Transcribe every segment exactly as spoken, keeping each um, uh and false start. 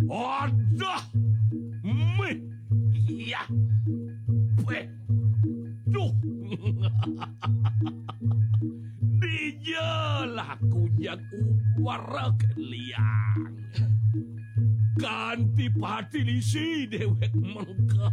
Aduh, mih, iya, peh, duh. Dija laku jak ubar liang. Kanti pati lisi dewek mengke.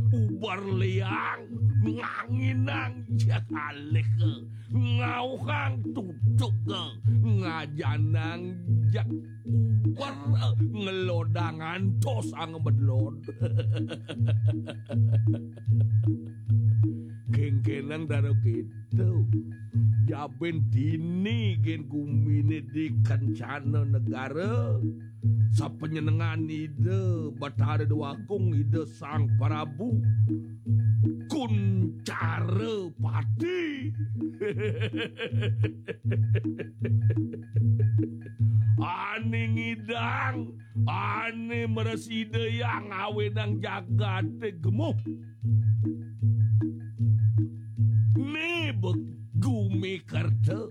Ubar liang nganginang jak alih, ngauhang tutuk, ngajanang jak ubar, ngelodang antos angemedlod. Kengkenang daro gitu. Jaben dini gen gumine di kencana negara. Sapanjenengan Ida Batara Dewa Agung, Ida Sang Prabu Kuncara Pati. Ane ngidang, ane meres Ida yang awenang jagate gemuh. Ne begumi kerta,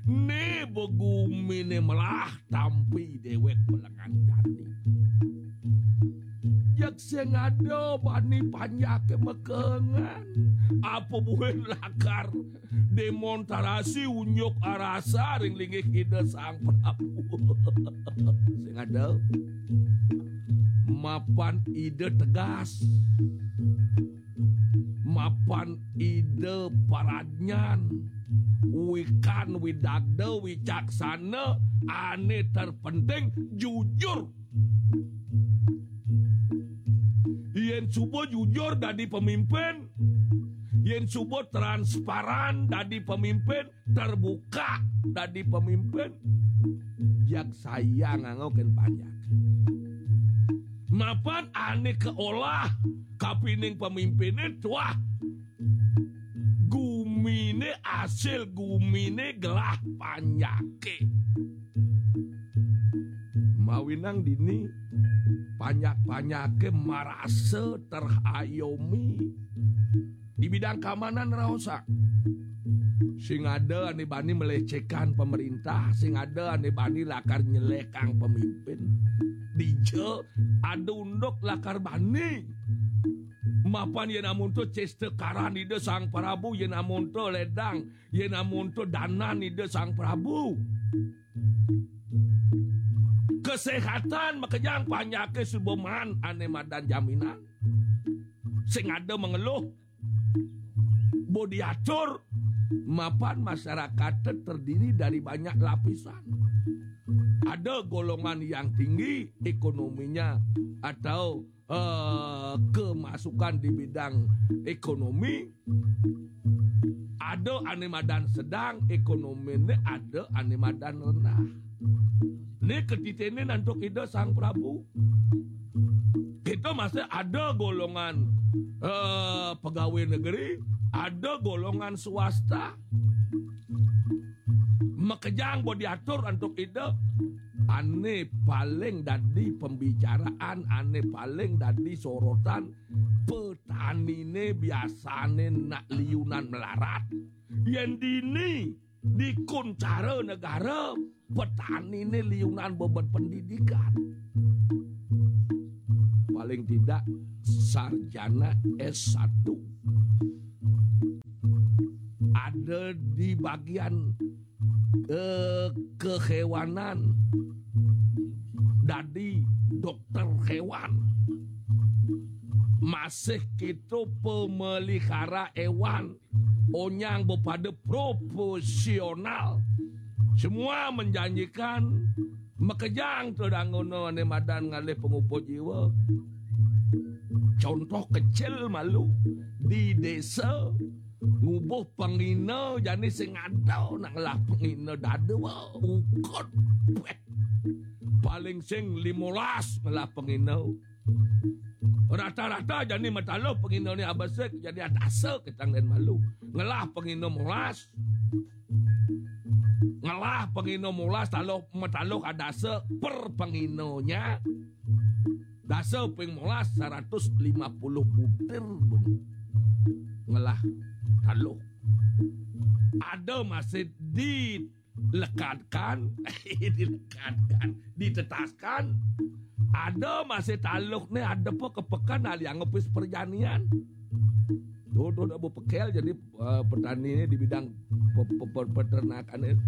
ne begumine melah tampi dewek pelengan jani. Jak sing ada bani panjake mekengan. Apa buin lakar demonstrasi unjuk arasa ring linggih Ida Sang Prabu? Sing ada mapan Ida tegas, mapan Ida paradnyan, wikan widagda wicaksana, ane terpenting jujur. Yen suba jujur dadi pemimpin, yen suba transparan dadi pemimpin, terbuka dadi pemimpin, jag sayang anggo ken panjak. Mapan ane keolah kapining pemimpine tuah gumine, asil gumine gelah panjake. Mawinang dini panjak-panjake marasa terayomi. Di bidang keamanan raosa. Sing ada ane bani melecehkan pemerintah, sing ada ane bani lakar nyelekang pemimpin. Dija ada unduk lakar bani. Mapan yen amonto cesta karan Ida Sang Prabu, yen amonto ledang, yen amonto danan Ida Sang Prabu. Kesehatan makejang panjake suba maan ane madan jaminan. Sing ada mengeluh, bo diatur, mapan masyarakat terdiri dari banyak lapisan. Ada golongan yang tinggi ekonominya atau eh, kemasukan di bidang ekonomi, ada ane madan sedang ekonomine, ada ane madan rendah. Ni ketitene antuk Ida Sang Prabu. Kita masih ada golongan eh, pegawai negeri, ada golongan swasta. Makejang bo diatur antuk Ida. Ane paling dadi pembicaraan, ane paling dadi sorotan, petanine biasane nak liunan melarat. Yen dini di Kuncara Negara, petanine liunan bebet pendidikan. Paling tidak sarjana S satu. Ada di bagian eh, kehewanan, dadi dokter hewan. Masih kita pemelihara hewan, onyang bepada profesional. Semua menjanjikan makejang to dangono ane madan ngalih pangupa jiwa. Contoh kecil malu, di desa ngubuh pengina jani sing ada nak ngelah pengina dada, wah, ukut. Weh. Paling sing limolas ngelah pengina. Rata-rata jani mataluh pengina ni abesik, jani adasa ketang dan malu. Ngelah pengina molas. Ngelah pengina molas taluh mataluh adasa per penginanya. Dasa ping molas seratus lima puluh butir, Bung. Ngelah taluh. Ada masih di Lekadkan, dilekadkan, ditetaskan. Ada masih taluk nih, ada apa kepekan, ahli anggepis perjanian. Tuh, tuh, udah pekel jadi eh, petani ini di bidang pe- pe- pe- peternakan ini.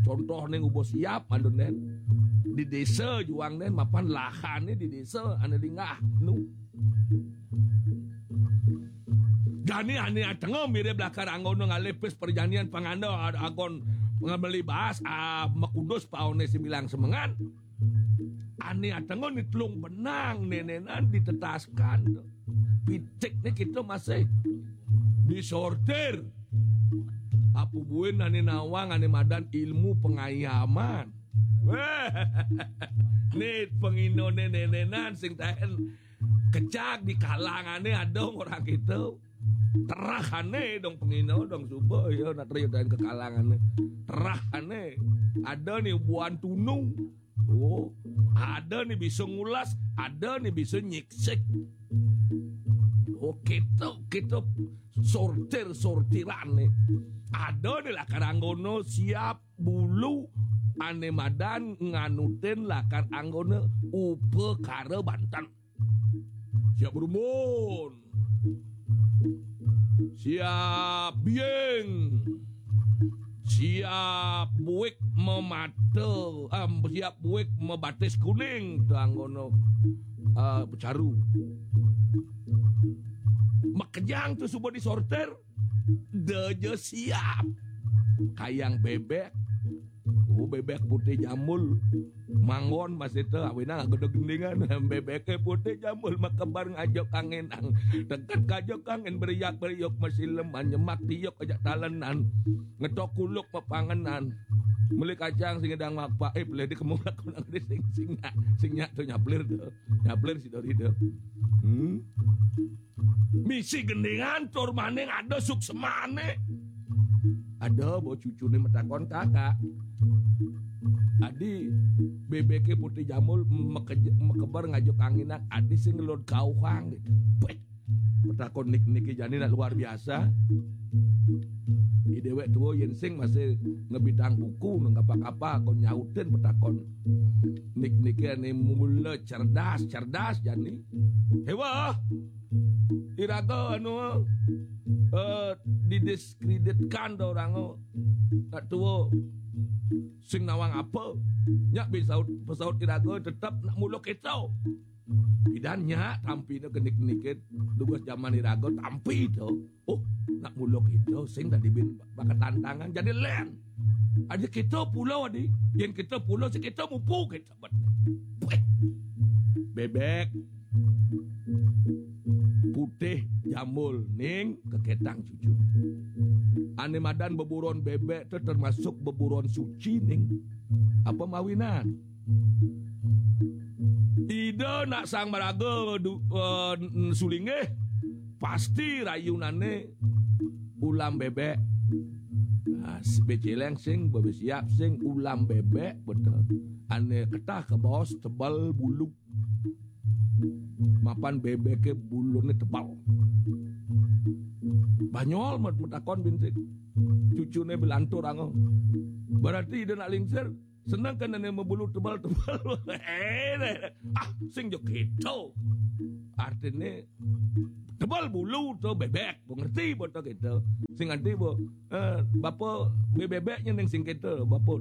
Contoh nih, ubo siap, anu, nen. Di desa juang, nen, mapan lahan nih di desa, anu, linggah, nu. Jani ane atenga mirip lakar anggona ngalih pis perjanian panganda, agon ngemeli baas, ah, makudus paone sembilang semengan. Ane atenga ni telung benang nenenan ditetaskan. Pitik ni kita masih disortir. Apa buin ane nawang ane madan ilmu pengayaman. Weh, ni penginone nenenan sing taen kecak di kalangane ada orang kita. Terahane dong pengino dong suba ya nak teriudan ke kalangane. Terahane ada ni buan tunung. Oh, ada ni bisa ngulas, ada ni bisa nyiksik. Oh, kita kita sortir-sortiran ni. Ada ni lakar anggona siap bulu ane madan nganutin lakar anggona upakara banten. Siap berumbun. Siap biing. Siap buik memata, em, siap buik mebatis kuning tu anggona eh, becaru. Makejang tu suba disortir, deja siap. Kayang bebek. Oh, bebek putih jambul. Manggon masih tu, awinang agak gendingan. Bebek putih jambul makebar ngajuk angin ang. Deket kajuk angin beriak beriuk masileman nyemak tiuk ajak talenan. Ngetok kuluk mapangenan. Meli kacang sing edang mapa, eh, pelih di kemulak kunang di sing sing nyak, sing nyak tu nyaplir tu. Nyaplir si Dori tu. Hmm. Misi gendingan tur maning ada suksemane. Ada bo cucune matakon, "Kakak, adi bebeke putih jambul meke-, mekeber ngajuk anginan, adi sing ngelod kauhang?" gitu. Beh, matakon nik-nike jani nak luar biasa. I dewek tua yen sing masih ngebitang buku nang kapa-kapa kon nyautin matakon nik-nike ane mula cerdas, cerdas jani. Hewa. Iraga anu eh, didiskreditkan do orang, eh, nak tua sing nawang apa. Nyak bin saut, pesaut iraga tetap nak mula kita. Pidan nyak tampi ne kenik-nikit tugas zaman iraga tampi tu. Oh, nak mula kita sing tadi bin bakat tantangan jadi len. Ada kita pulau adi, yen kita pulau si kita mupu kita bet. Bebek putih jambul ning keketang cucu. Ane madan beburon bebek tu termasuk beburon suci ning. Apa mawinan? Ida nak sang maraga du, eh, sulinggih pasti rayunane ulam bebek. Nah, si beceleng sing bebesiap sing ulam bebek betul. Ane ketah ke bos tebal bulu. Mapan bebeke bulune tebal. Banyol mat metakon bintik. Cucune belantur ango. Berarti ida nak lingsir senang kan ane mebulu tebal-tebal. Eh, ah, sing jo keto. Artine tebal bulu tu bebek. Bo ngerti bo tu keto. Sing ngerti bo. Eh, bapa bebeknya ning sing keto. Bapa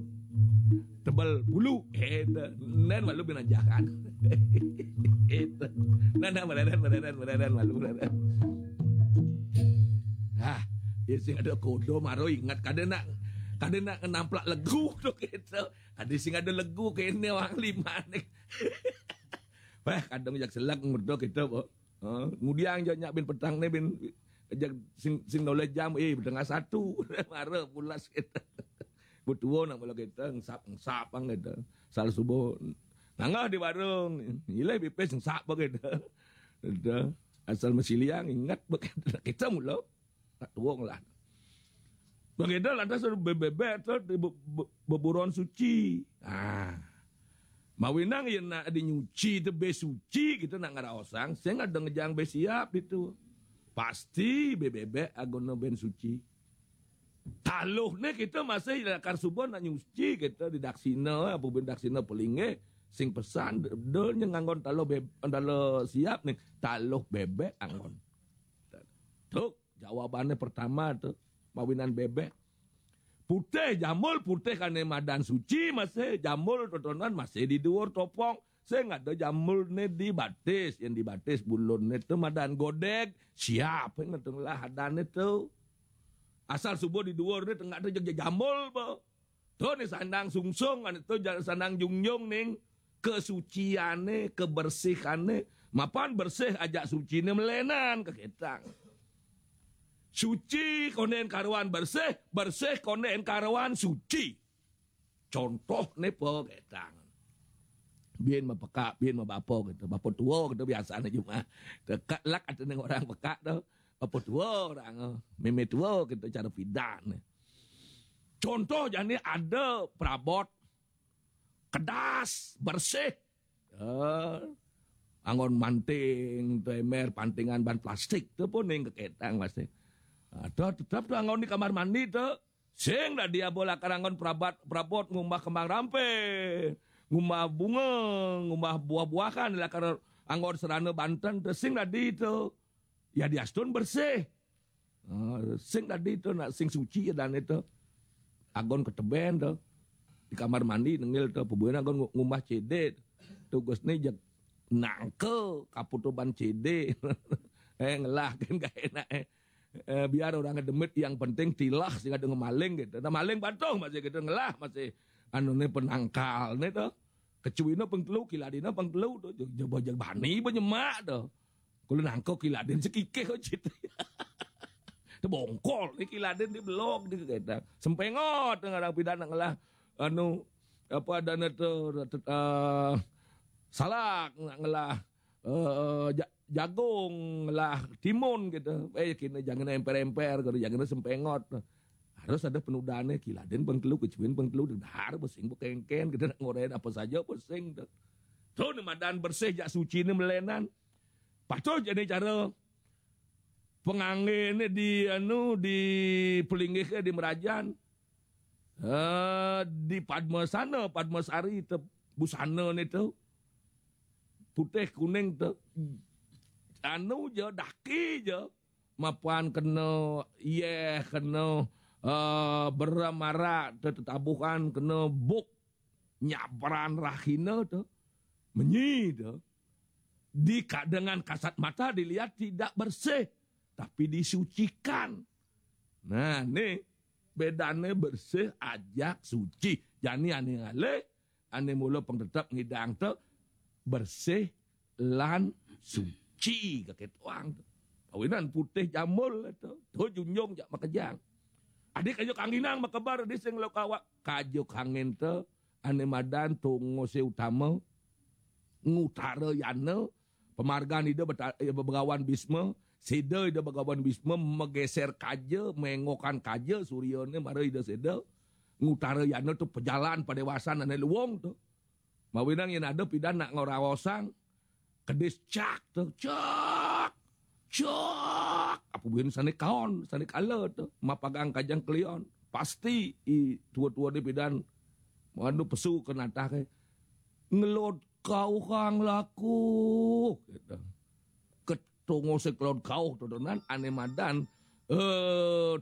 tebal bulu. Keto. Nen malu binajakan. Keto. Nah, nah, mararan, mararan, mararan, malu, mararan. Ah, ya sing ada kodo maro ingat kada nak, kada nak namplak legu tu keto. Kada sing ada legu kene wang lima ni. Wah, kadang jak selak ngurdo kita, bo. Ha, ngudiang jak nyak bin petang ni bin jak sing, sing noleh jam, eh, tengah satu. Mara pulas kita. Betua nak mula kita, ngesap, ngesap ang kita. Sal subuh. Nangah di warung. Ilai bipis ngesap ang kita. Kita. Asal masiliang, ingat bak kita. Kita mula. Tak tuang lah. Bang Eda lantas ada bebebek tu di be- be- beburon suci. Ah. Mawinang ya nak dinyuci tu be suci kita nak ngeraosang, sing ada ngejang be siap itu. Pasti bebebek agono ben suci. Taluh nih kita masih lakar suba nak nyuci kita di daksina, apa bin daksina pelinggih, sing pesan dol nya nganggon taluh beb-, taluh siap nih, taluh bebek anggon. Tuh, jawabannya pertama tuh, mawinan bebek. Putih jambul, putih kane madan suci masih, jambul totonan masih di duur topong. Sing ada jambul nih di batis, yang di batis bulun nih tuh madan godeg, siap yang ngetung lah adane tuh. Asal subuh di duur nih tengah tuh jeg jambul, bo. Tuh nih sandang sungsung, ane tuh ja-, sandang jungjung ning kesuciane, kebersihane, mapan bersih ajak sucine melenan keketang. Suci konden karuan bersih, bersih konden karuan suci. Contoh ne peketang. Bin mapekak, bin mabapa gitu. Bapa tua gitu biasanya cuma. Tekak lak ada ning orang pekak tu. Bapa tua orang, oh. Meme tua gitu cara pidan. Contoh jani ada perabot kedas, bersih. Eh, anggon manting, tu emer, pantingan ban plastik tu pun ning keketang masih. Ada tetap tu anggon di kamar mandi tu. Sing dadi abo lakar anggon perabat, perabot ngumbah kembang rampe, ngumbah bunga, ngumbah buah-buahan lakar anggon serana banten tu sing dadi tu. Ya diastun bersih. Ah, sing dadi tu nak sing suci ya dan itu. Agon keteben tu. Di kamar mandi nengil tu. Pebuin agon ngu-, ngumbah C D. Tugas ni jeg nangka kaputuban C D. Eh, ngelah kan gak enak, eh. Eh, biar orang demit yang penting tilah sing ada ngemaling gitu. Nah, maling patuh masih gitu, ngelah masih anu ni penangkal ni tu. Kecuina pengtelu, kiladina pengtelu tu. Jeg, jeg, jeg bani penyemak tu. Kalau nangka kiladin sekikih kau cerita. Tebongkol ni kiladin di belok ni kata. Sempengot dengan orang pidan nak ngelah anu apa ada tu, eh, salak nak ngelah, eh, ja-, jagung lah timun gitu. Eh, kini jangan emper-emper, kalau jangan sempengot. Harus ada penudane, kiladin pengtelu, kecuin pengtelu, dahar besing bekengken, kita nak ngoren apa saja besing tu. Tu ni madan bersih jak suci ni melenan. Patuh jadi cara penganggene di anu, di pelinggih di merajan. Eh, di Padmasana, Padmasari tu busana ni tu. Putih kuning tu. Anu je, daki je. Mapan kena yeh, kena, eh, beramara, te-, tetabuhan, kena buk nyabran rahina tu. Menyi tu. Di ka-, dengan kasat mata dilihat tidak bersih, tapi disucikan. Nah, ni bedane bersih ajak suci. Jani ane ngalih, ane mula pengtetep ngidang tu bersih lan suci kake tuang tu. Kawinan putih jambul tu. Tu junjung jak makejang. Adik kajuk kanginang makebar di sing lo kawak. Kajuk angin tu ane madan tungose utama ngutara yana, pemargan ida beta-, eh, begawan Bisma, sida ida begawan Bisma megeser kaja, mengokan kaja suryane mara ida sida ngutara yana tu pejalan padewasan ane luung tu. Mawinang yen ada pidan nak ngeraosang kedis cak tu, cak, cak. Apa buin sane kaon, sane kala tu, mapagang kajang kelion. Pasti i tua-tua di pidan manu pesu ke natah ke. Ngelod kau kang laku. Gitu. Ketongo se kelod kau tu dengan ane madan. Eh,